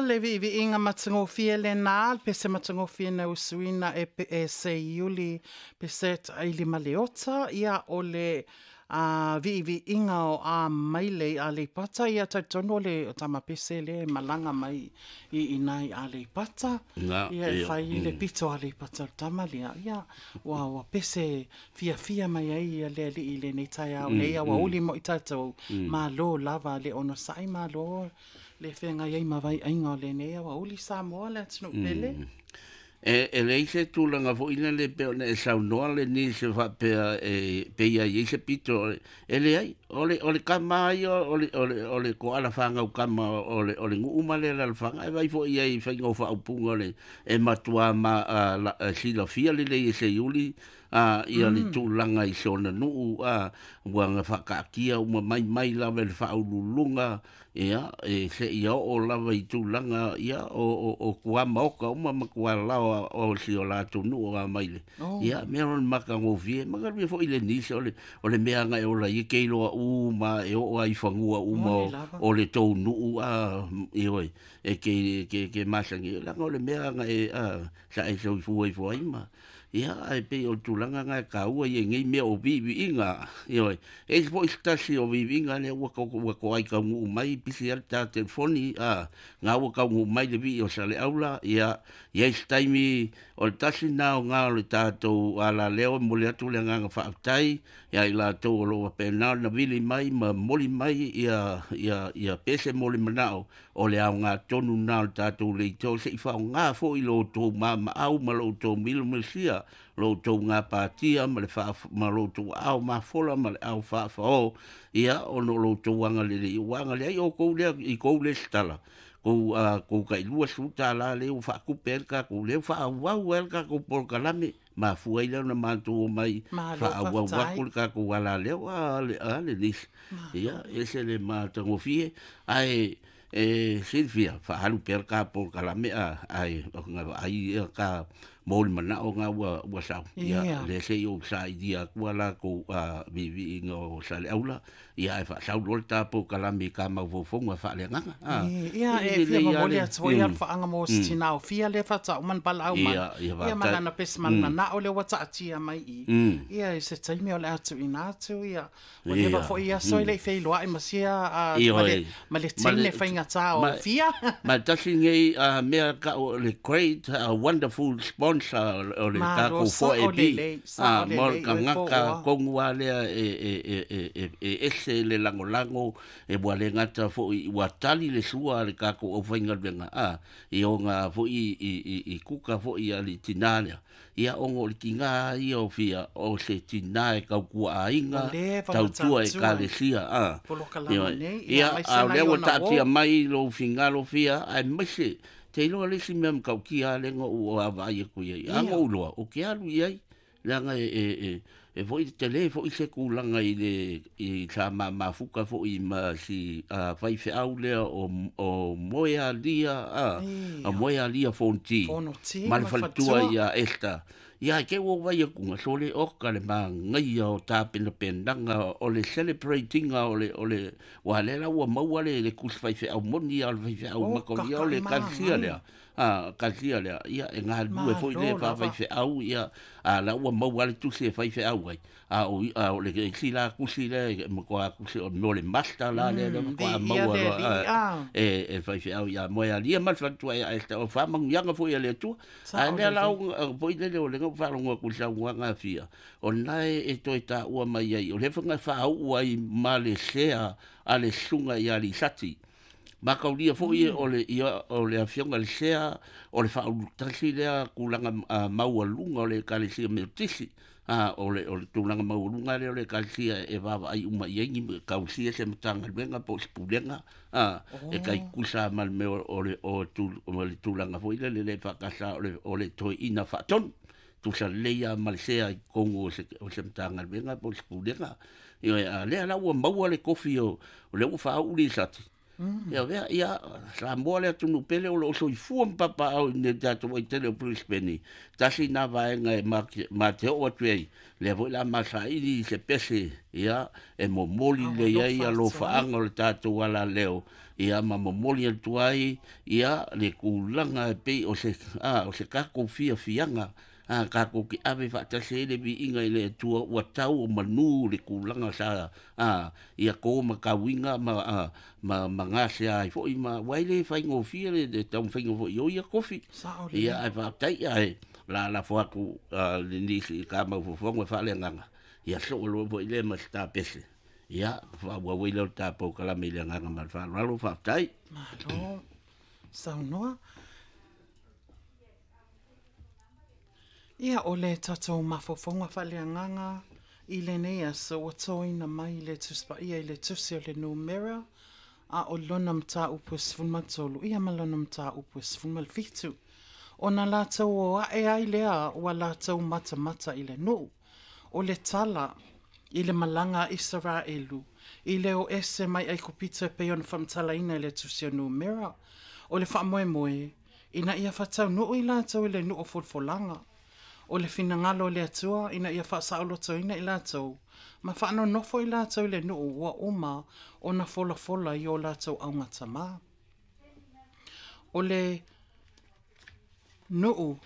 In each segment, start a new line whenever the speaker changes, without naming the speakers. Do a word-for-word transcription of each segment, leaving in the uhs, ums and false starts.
Le viiviiga matagofie lenā le pese matagofie na usuina e pe e Seiuli pese taʻailima Leota. Ia o le a viiviiga o a maile i Aleipata. Ia talitonu o le tamapese lea e malaga mai i ina i Aleipata.
Na,
ia e
ia,
fai le
mm.
pito Aleipata o le tama lea. Ia ua ua pese fiafia mai ai ia le alii i lenei taeao nei
Mm,
a ua
mm,
uli moʻi tatou
mm.
malo lava le onosaʻi malo le feagai ai ma vaiaiga o lenei aoauli Samoa le atunuu pele.
Mm. E, e leai se tulaga foʻi lele pe ona e saunoa le nisi faapea e peia i ai se pito e leai o le o le kama ia o le o le o le koala fagau kama o le o le nuu ma le alalafaga e vai foʻi ai faiga o faaupuga o le e matuā ma a, la, a, silafia lelei e Seiuli a ia le tulaga i sona nuu a ua gafakaatia uma mai mai lava i le faaululuga ia e seia oo lava i tulaga ia o o o kuamaoka uma ma kualaoa o si o latou nuu a mai le
Oh.
ia mea o le makagofie magalue foʻi le nisi o le o le mea aga e ola ai ke iloa uma e oo ai i fagua uma
Moni
o,
lava.
o le tou nuu a ioe e ke ke ke masani leaga o le mea aga e a sa e soifua ifo ai ma ia ae pei o le tulaga na e kāua ia i nei mea o viiviiga ioe e isi foʻi se tasi o viiviiga lea ua ko ua koai taunuu mai pisi ai le ta telefoni a ga ua taunuu mai le vii o Saleaula ia ia i se taimi o le tasi na o gā o le tatou alaleo e momoli atu le agaga faafetai ia i latou o loo faapena ona vili mai ma momoli mai ia ia ia pese mo le manao o le aogā tonu na o le tatou leitio seʻi faaaogā foʻi lo outou mamaau ma lo outou milomilosia lo outou gapatia ma le faa ma lo outou aao mafola ma le ao faafaõ ia ona o lo outou agalelei ua agaleai oukou lea i kou lesitala kou a kou tailua sefulu tālā lea ua faatupe ai le tatou lea ua faaauau ai le tatou polokalame mafua ai lea ona matou omai
Malo
faaauau
faafetai.
atu le tatou alaleo a le a le nisi
Malo.
ia ese le matagofie ae e silafia faaalu pea le ka polokalame a ae vaai ia ka mo le manao ga ua ua sau ia
Ia.
le se i ou sailia atu a latou a viiviiga o Saleaula ia ae faasau loa le ta polokalame i ka maufaufoga faaleagaga a
Ia
e
e fia
lelei a
momoli
le
atu ai
mm,
le faaaga mo
mm.
se tina o fia le faataʻu ma na valaau mai.
Ia ia
Ia ma
faafetai
lana pese ma le
mm,
manao le ua taatia mai i.
mm.
Ia i se taimi o le atu ina atu ia. Ua leva
Ia
foʻi aso i
mm.
le i feiloai ma sia a, ma
Ia
le,
oi
ma le
ma
teine
le
faigata o
ma
fia.
ma tasi nei a mea ka o le great uh, wonderful sponsor o le
Malo
tatou
sao
four A B
lelei,
a
sao
mo le
lelei oe
tagata
poʻoa.
tonu a lea e e e e e e ese le lagolago e ua le gata foʻi ua tali le sua a le tatou aufaigaluega a i oga foʻi i i i kuka foʻi a le tinā lea ia ona o le tigā ia o fia o se tinā e tautua
Ua
aiga
leva ona
tautua e
tautua
kalesia a
polokalame
ioe
nei ia
ia
aemaise
a o
nai
lea ua
ona
taatia
uō.
mai lou figalo fia aemaise te iloa le isi mea matautia lea na ou vaavaai atu i ai a
Ia.
na ou iloa ou te alu i ai leaga e e e e foʻi telē foʻi se tulaga i le i sa mamafuka foʻi ma si a faifeau lea o o Moealia a a
Ia.
Moealia Fonti
Fonoti
ma le
ma
faletua
faletua.
ia Esta ia ke ua vai akuga sole oka le magaia o tapenapenaga o le celebratinga o le o le ua lea la ua maua le le kusi faifeau moni a o le faifeau
O
makolia o
kakaʻi
le kalesia
magai.
lea a kalesia lea ia e galulue foʻi
Malo
le
lava.
faafaifeau ia a la ua maua le tusi e faifeau ai a o a o le isi la kusi lea e matua kusi o mo le master la lea lea
Mm,
matua
viia
maua
le
loa
alii
a
a.
e e faifeau ia Moealia ma le faletua ia Esta o faamanuiaga foʻi a le Atua ae
Sao
lea la
lelei.
foʻi lele o le faalogo atu i le saunoaga a fia o lena e e toe taua mai ai o le faga faauu ai ma le sea a le susuga ia Lisati makaulia foʻi
Mm.
o le ia o le afioga le sea o le faaulutasi lea tulaga a, maualuga o le ekalesia Metotisi a o le o le tulaga maualuga lea o le ekalesia e vaavaai uma i ai ni kausia se matagaluega po o se pulega a e
Oh.
taitusa ma le mea o o le o tu o le tulaga foʻi lele le faakasa o le o le toeʻina faatonu tusa lelei a ma le sea i totonu o se o se matagaluega po o se pulega ioe a lea la ua maua le kofi o o lea ua faauu Lisati Ia vea ia Samoa le atunuu pele o loo soifua ma papaao i nei tatou aitele o Brisbane tasi na vaega e ma te oo atu ai lea foi la masaili i se pese ia e momoli lelei ai alofaaga o le tatou alaleo ia ma momoli atu ai ia le tulaga e pei o se a o se tatou fiafiaga a tatou te ave faatasi ai le viiga i le Atua ua tau o manu le tulaga sa a ia to matauina ma a ma ma gasea ai foi ma ua e le faigofie le le taumafaiga foi o ia tofi
Sao lelei.
Ia ae faafetai ae lalafo atu le nisi i ka maufaufaga e faaleagaga ia soo loa foi lea ma se tapese ia faaauau ai lea o le tapou kalame i le agaga ma le faaaloalo faafetai.
Malo saunoa. Ia o le tatou mafaufauga faaleagaga i lenei aso ua toina mai le Tusi Paia i le Tusi o le Numera a o lona mataupu e sefulu ma tolu ia ma lona mataupu e sefulu ma le fitu. Ona latou o ae ai lea ua latou matamata i le nuu. O le tala i le malaga a Isaraelu i le o ese mai Aikupito e pei ona faamatalaina i le Tusi o Numera. O le faamoemoe ina ia faataunuu i latou i le nuu o folafolaga. O le finagalo o le Atua ina ia faasaolotoina i latou ma faanonofo i latou i le nuu ua uma ona folafola i o latou augatama. O le nuu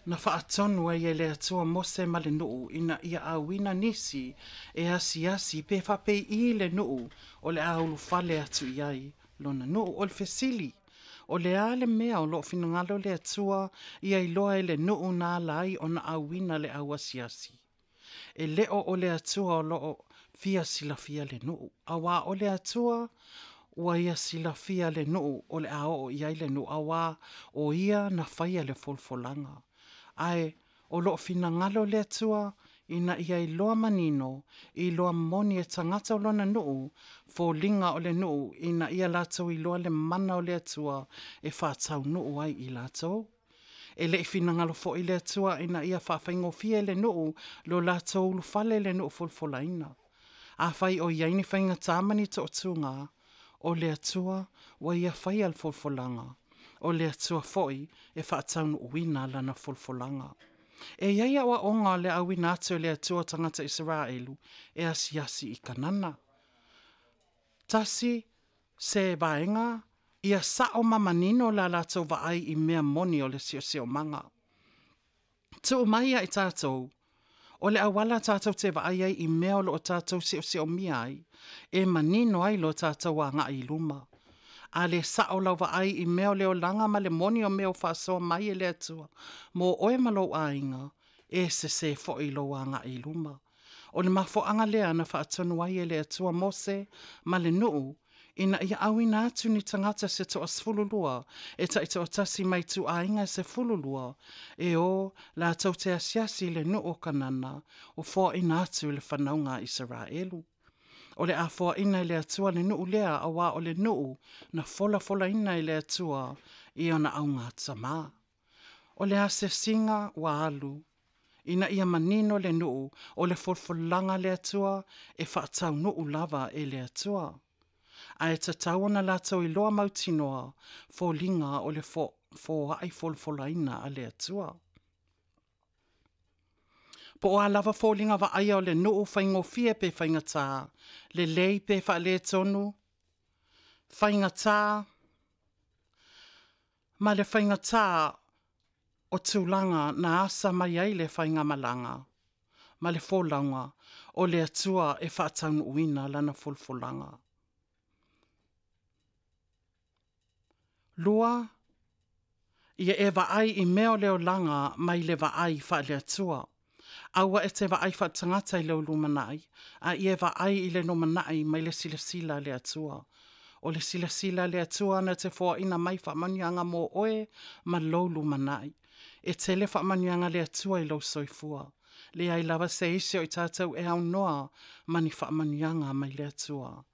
na faatonu ai e le Atua Mose ma le nuu ina ia auina nisi e asiasi pe faapei le nuu o le a ulufale atu i ai lona nuu. O le fesili, o le a le mea o loo finagalo le Atua ia iloa e le nuu na ala ai ona auina le au asiasi. E leo o le Atua o loo fia silafia le nuu. Auā o le Atua ua ia silafia le nuu o le a oo i ai le nuu auā o ia na faia le folafolaga. Ae o loo finagalo le Atua ina ia iloa manino, iloa moni e tagata o lona nuu, foliga o le nuu ina ia latou iloa le mana o le Atua e faataunuu ai i latou. E lei finagalo foi le Atua ina ia faafaigofie le nuu lo latou ulufale le nuu folafolaina. Afai o i ai ni faigata ma ni toatuga, o le Atua ua ia faia le folafolaga. O le Atua foi e faataunuuina lana folafolaga. E i ai aoaoga o le auina atu e le Atua tagata Isaraelu e asiasi i Kanana. Tasi se vaega ia sao ma manino la latou vaai i mea moni o le siosiomaga. Tuu mai ia i tatou, o le auala tatou te vaai ai i mea o loo tatou siosiomia ai, e manino ai lo tatou agai i luma. A le sao lau vaai i mea o le olaga ma le moni o mea o faasoa mai e le Atua, mo oe ma lou aiga, e sese foi lou agai i luma. O le mafuaaga lea na faatonu ai e le Atua Mose ma le nuu, ina ia auina atu ni tagata se toasefululua, e taitoatasi mai ituaiga e sefululua, e o latou te asiasi i le nuu o Kanana, o foaina atu i le fanauga a Isaraelu. O le a foaina i le Atua le nuu lea, auā o le nuu na folafolaina i le Atua i ona augatama. O le asiasiga ua alu, ina ia manino le nuu o le folafolaga a le Atua e faataunuu lava e le Atua. Ae tatau ona latou iloa mautinoa foliga o le foai folafolaina a le Atua. Po o a lava foliga vaaia o le nuu faigofie pe faigata, lelei pe faaletonu, faigata ma le faigata o tulaga na asa mai ai le faigamalaga ma le folauga o le Atua e faataunuuina lana folafolaga. Lua, ia e vaai i mea o le olaga mai le vaai faale-Atua. Aua e te vaai faaletagata i lou lumanai, a ia e vaai i le lumanai mai le silasila a le Atua. O le silasila a le Atua na te foaina mai faamanuiaga mo oe ma lou lumanai. E tele faamanuiaga le Atua i lou soifua. Leai lava se isi o i tatou e aunoa ma ni faamanuiaga mai le Atua.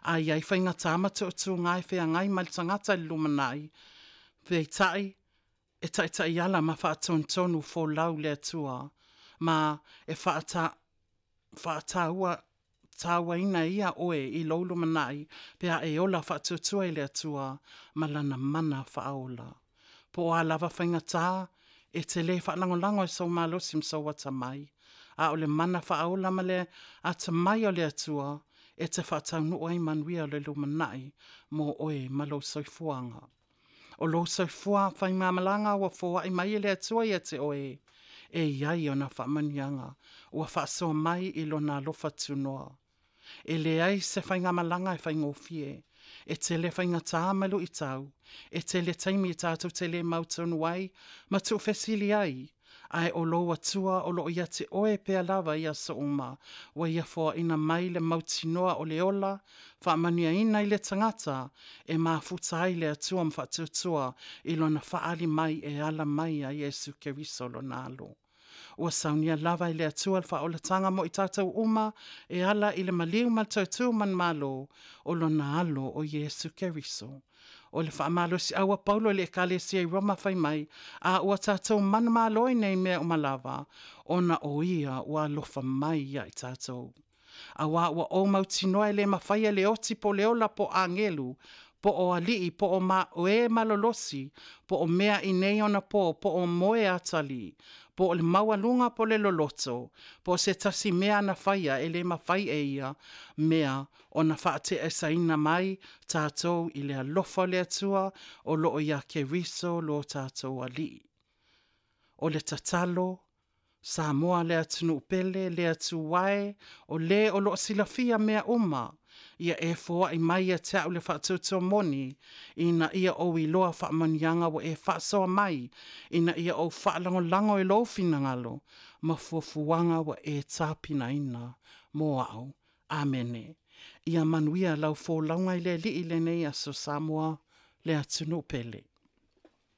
A iai faigata ma tuutuuga e feagai ma le tagata i le lumanai, peitai e taitaiala ma faatonutonu folau le Atua, ma e faata, faataua faatatāuaina e ia oe i lou lumanai pe a e ola faatuatua i le Atua ma lana mana faaola. Po o a lava faigata, e te lē faalagolago i sou malosi ma sou atamai, a o le mana faaola ma le atamai o le Atua e te faataunuu ai manuia o le lumanai mo oe ma lou soifuaga. O lou soifua faimamalaga ua foai mai e le Atua ia te oe, e i ai ona faamanuiaga ua faasoa mai i lona alofa tunoa. E leai se faigamalaga e faigofie, e tele faigata ma luitau, e tele taimi tatou te le mautonu ai ma tuufesili ai, ae o lou Atua o loo ia te oe pea lava i aso uma, ua ia foaina mai le mautinoa o le ola, faamanuiaina i le tagata e mafuta ai le Atua ma faatuatua i lona faaali mai e ala mai ia Iesu Keriso lona alo. Ua saunia lava e le Atua le faaolataga mo i tatou uma e ala i le maliu ma le toe tu manumalo o lona alo o Iesu Keriso. O le faamalosiau a Paulo i le ekalesia i Roma fai mai, a ua tatou manumalo i nei mea uma lava, ona o ia ua alofa mai ia i tatou. Auā ua ou mautinoa e le mafai e le oti po o le ola po o agelu, po o alii po o ma o e malolosi, po o mea i nei onapo, po o moe atalii, po o le maualuga po o le loloto, po o se tasi mea na faia e le mafai e ia mea ona faateesaina mai tatou i le alofa o le Atua o loo ia Keriso lo tatou Alii. O le tatalo, Samoa le atunuu pele, le Atua e, o le o loo silafia mea uma, ia e foai mai ia te au le faatuatua moni, ina ia ou iloa faamanuiaga ua e faasoa mai, ina ia ou faalagolago i lou finagalo, ma fuafuaga ua e tapenaina mo au. Amene. Ia manuia lau folauga i le Alii i lenei aso Samoa, le atunuu pele.